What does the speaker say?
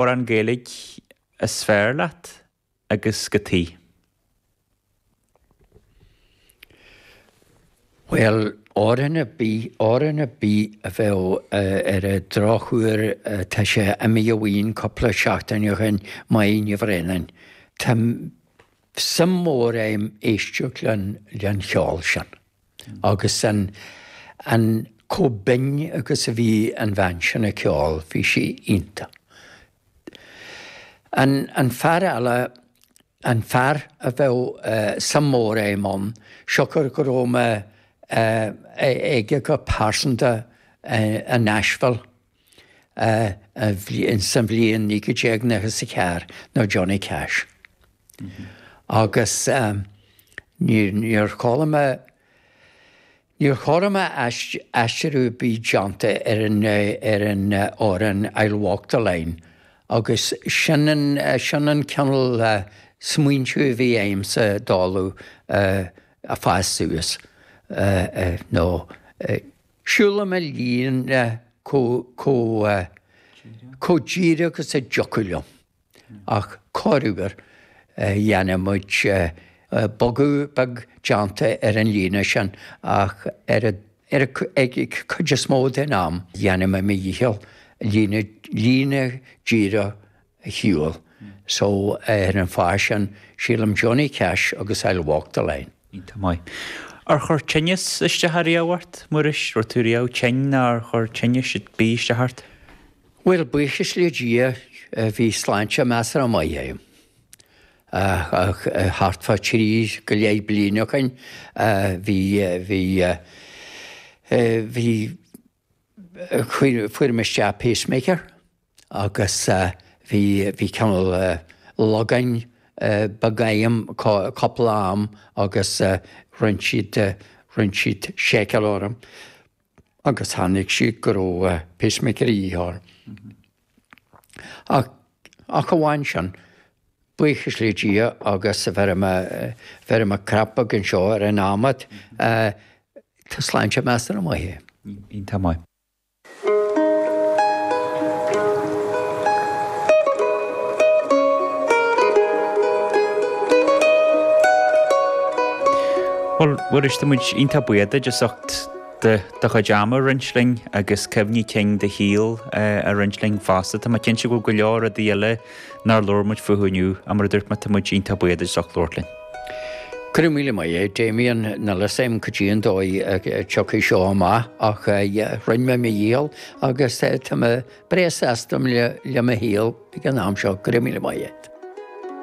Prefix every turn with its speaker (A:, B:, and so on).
A: Amhrán Gaeilge is fearr leat agus cad chuige?
B: Bhuel, amhrán ar bith, amhrán ar bith a bheadh ar an drochuair, tá sé imithe uainn cúpla seachtain ó shin, Máire Ní Bhraonáin. Tá suim mhór agam éisteacht len cheol sin agus an, an, chomh binn agus a bhí an bhean sin ag ceol, bhí sí iontach. An, an fear eile, an fear a bheadh suim mhór agam ann, siocair go raibh mé aige go pearsanta i Nashville sa bhliain 1994 ná Johnny Cash. Agus níor chuala mé, níor chuala mé aistriú ar bith déanta ar an ar an amhrán I'll Walk the Line agus sin an sin an cineál smaointiú a bhí agamsa dála ag fás suas nó siúlaim mo líne chomh chomh díreach is a dtiocfadh liom. Ach corruair dhéanadh muid bogadh beag déanta ar an líne sin ach ar an chuid is mó den am dhéanadh mé mo dhícheall líne líne díreach a shiúl. So ar an fáth sin sílim Johnny Cash agus I'll Walk the Line.
A: Iontach maith. Ar chuir tinneas isteach ariamh ort, Muiris? Raibh tú riamh tinn nó ar chuir tinneas ar bith isteach ort?
B: Bhuel, buíochas le Dia, bhí sláinte measartha maith agam. Ach thart fá thrí go leith bliain ó shin, bhí, bhí, bhí, fuair mé isteach pacemaker agus bhí, bhí cineál logáin beag agam cúpla am agus rinne siad, rinne siad seiceáil orm. agus chonaic siad go raibh pacemaker a dhíth orm. Ach, ach amháin sin, buíochas le Dia agus bheir mé, bheir mé crap beag anseo ar an adhmad, tá sláinte measartha maith
A: agam. Iontach maith. Bhuel, a Mhuiris, tá muid iontach buíoch duit as ucht do chuid ama a roinnt linn agus cuimhní cinn do shaoil a roinnt linn fosta. Tá mé cinnte go bhfuil go leor rudaí eile nár labhair muid fúthu inniu ach mar a dúirt mé, tá muid iontach buíoch duit as ucht labhairt linn.
B: Go raibh míle maith agat, Damien. Níl a fhios agam cad é an dóigh a dtiocfaidh seo amach ach rinne mé mo dhícheall agus tá mé breá sásta le mo shaol ag an am seo. Go raibh míle maith agat.